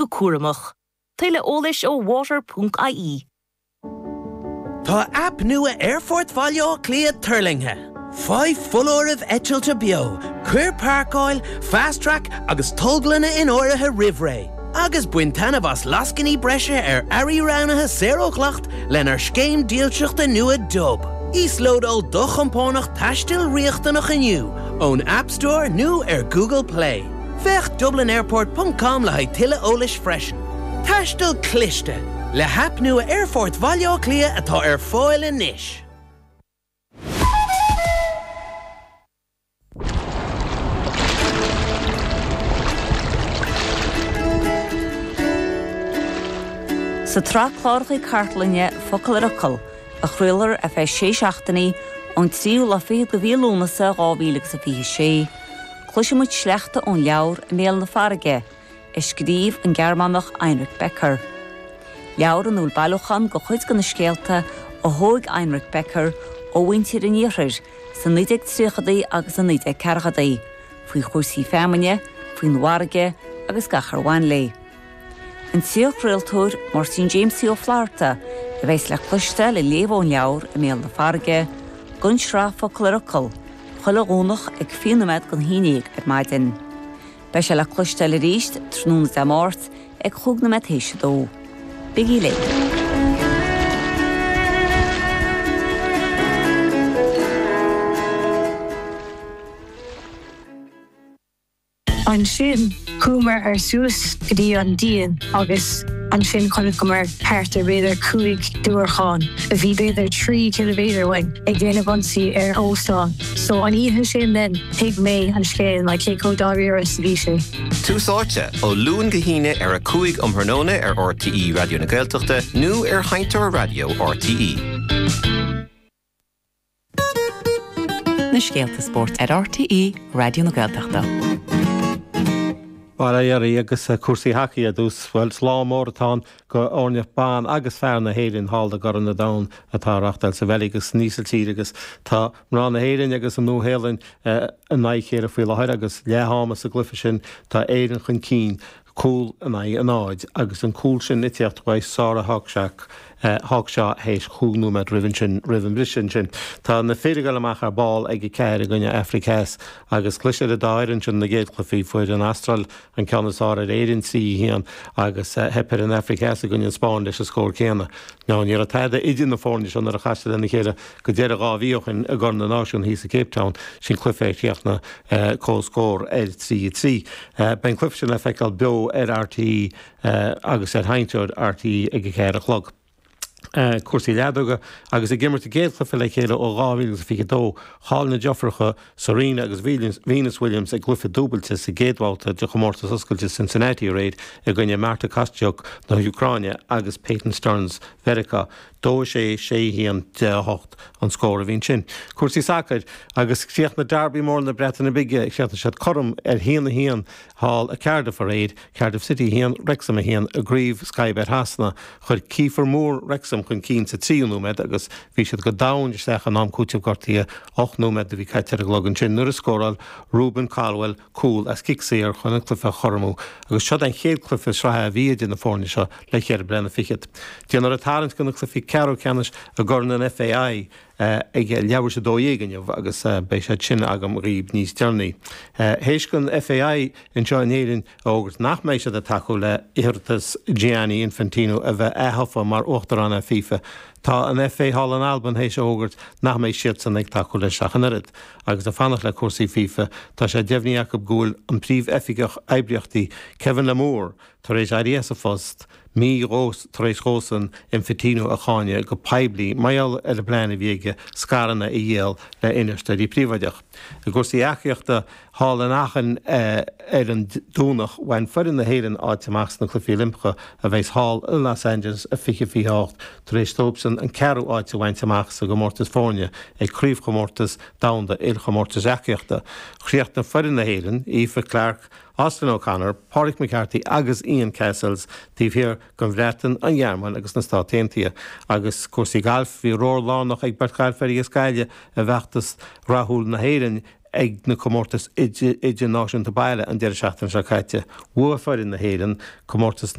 Go cúramach. Tuilleadh eolais ó water.ie. Tá aip nua Aerfort Bhaile Átha Cliath tuirlingthe. Faigh foláirimh eitilte beo, cuir páirceáil, Fast Track agus tolglanna in áirithe roimh ré, agus bain taitneamh as lascainí breise ar earraí roghnaithe saor ó dhleacht lenár scéim dílseachta nua Dub. Íoslódáil do chompánach taistil riachtanach inniu ón App Store nó ar Google Play. Féach dublinairport ponc com le haghaidh tuilleadh eolais freisin. Taisteal cliste! Le haip nua Aerfort Bhaile Átha Cliath atá ar fáil anois! Sa tsraith cláracha cartlainne Focal ar Fhocal, a chraolfar ar feadh sé seachtainí ón tríú lá fichead de mhí Lúnasa 2026, Cloisfidh muid sleachta ón leabhar I mBéal na Farraige, a scríobh an Gearmánach Heinrich Becker. Leabhar ina bhfuil bailiúchán de chuid de na scéalta a thóg Heinrich Becker ó mhuintir an iarthair sna 1930idí agus sna 1940idí, faoi chúrsaí feamainne, faoin bhfarraige agus gach ar bhain léi. An saorchraoltóir Máirtín Jamesie Ó Flatharta a bheas le cloisteáil ag léamh ón leabhar I mBéal na Farraige don tsraith Focal ar Fhocal, chuile Dhomhnach ag 20 nóiméad don haon dhéag ar maidin. Beidh sé le cloisteáil arís tráthnóna Dé Máirt ag chúig nóiméad théis a dó. Bígí linn! Ansin chuamar ar suas go dtí an díon agus ansin chonaiceamar thart ar b'fhéidir 5 diúracán a bhí b'fhéidir 3 ciliméadar uainn ag déanamh ionsaí ar óstán. So an oíche sin then thuig mé an scéal like cé chomh dáiríre is a bhí sé. Tús Áite, ó Luan go hAoine ar 5 um thráthnóna ar RTÉ Raidió na Gaeltachta nó ar Sheinnteoir Raidió RTÉ. Na scéalta spóirt ar RTÉ Raidió na Gaeltachta. Bail ó Dhia oraibh agus cúrsaí hacaí ar dtús. Bhuel, is lá mór atá ann go fhoirne ban agus fear na hÉireann thall i gCorn an Domhain atá á reáchtáil sa Bheilg agus san Ísiltír agus tá mná na hÉireann agus an Nua-Shéalainn in aghaidh a chéile faoi láthair agus leath ama sa gcluiche sin tá Éirinn chun cinn cúl in aghaidh a náid agus an cúl sin ag tíocht uaidh Sarah Hawkshaw Hawkshaw théis chúig nóiméad roimh ansin roimh an bhriseadh ansin. Tá na fir ag dul amach ar ball ag 4 i gcoinne Afraic Theas agus chlis ar an dá fhoireann sin na gcéad chluichí. Fuair an Astráil an ceann is fearr ar Éirinn 3 1 agus theip ar an Afraic Theas i gcoinne an Spáinn leis an scór céanna. Now ní raibh tada idir na foirne seo nuair a chas siad lena chéile go deireadh 2 mhí ó shin i gCorn na Náisiún thíos i Cape Town, sin cluiche a chríochnaigh comhscór ar 3 3. Beidh an cluiche sin le feiceáil beo ar RTÉ agus ar sheinnteoir RTÉ ag a 4 a chlog. Cúrsaí leadóga agus ag imirt a gcéad chluiche le chéile ó 2022, chaill na deirfiúracha Serena agus Venus Williams a gcluiche dúbailte sa gcéad bhabhta de chomórtas oscailte Cincinnati aréir i gcoinne Marta Kostyuk na hÚcráine agus Peyton Stearns Mheiriceá. 2, 6, 6, 1, 10, 8 an scór a bhí ansin. Cúrsaí sacair agus chríochnaigh Derby mór na Breataine Bige, chríochnaigh siad cothrom ar 1, 1 thall i Cardiff aréir, Cardiff City 1, Wrexham 1, i gCraobh Sky Bet Shasana. Chuir Kieffer Moore Wrexham chun cinn sa tríú nóiméad agus bhí siad go domhain isteach in am cúitimh gortaithe, 8 nóiméad a bhí caite ar an gclog ansin nuair a scóráil Rubin Colwill cúl as cic saor chun an cluiche a chothromú agus seo an chéad cluiche sraithe a bhí idir na foirne seo le cheithre bliana fichead. Déanfar an tarraingt do na cluichí ceathrú ceannais i gCorn an FAI ag leathuair tar éis 12 inniu agus beidh siad sin agam dhaoib níos deireanaí. Théis don FAI anseo in Éirinn a fhógairt nach mbeidh siad ag tacú le hiarratas Gianni Infantino a bheith aththofa mar Uachtarán ar FIFA, tá an FA thall in Albain théis a fhógairt nach mbeidh siadsan ag tacú leis ach an oiread. Agus ag fanacht le cúrsaí FIFA, tá sé deimhnithe acu go bhfuil an Príomh-Oifigeach Oibríochtaí, Kevin Lamour, tar éis éirí as a phost, mí tar éis dhósan Infantino a cháineadh go poiblí mar gheall ar an bplean a bhí aige scaireanna a dhíol le infheisteoirí príobháideach. I gcúrsaí eachaíochta, thall in Aachen ar an Domhnach, bhain foireann na hÉireann áit amach sna Cluichí Oilimpeacha a bheas thall i Los Angeles i 2028 tar éis dóibhsean an ceathrú áit a bhaint amach sa gcomórtas foirne ag Craobhchomórtas Domhanda Ilchomórtais Eachaíochta. Chríochnaigh foireann na hÉireann, Aoife Clarke, Austin O'Connor, Pauric McCarthy agus Ian Cassells taobh thiar den Bhreatain, an Ghearmáin agus na Stáit Aontaithe. Agus cúrsaí gailf, bhí ról lárnach ag beirt ghailfeoirí as Gaillimh i bhfeachtas rathúil na hÉireann. Ag na comórtais idirnáisiúnta baile an deireadh seachtaine seo caite, bhuaigh foireann na hÉireann comórtas.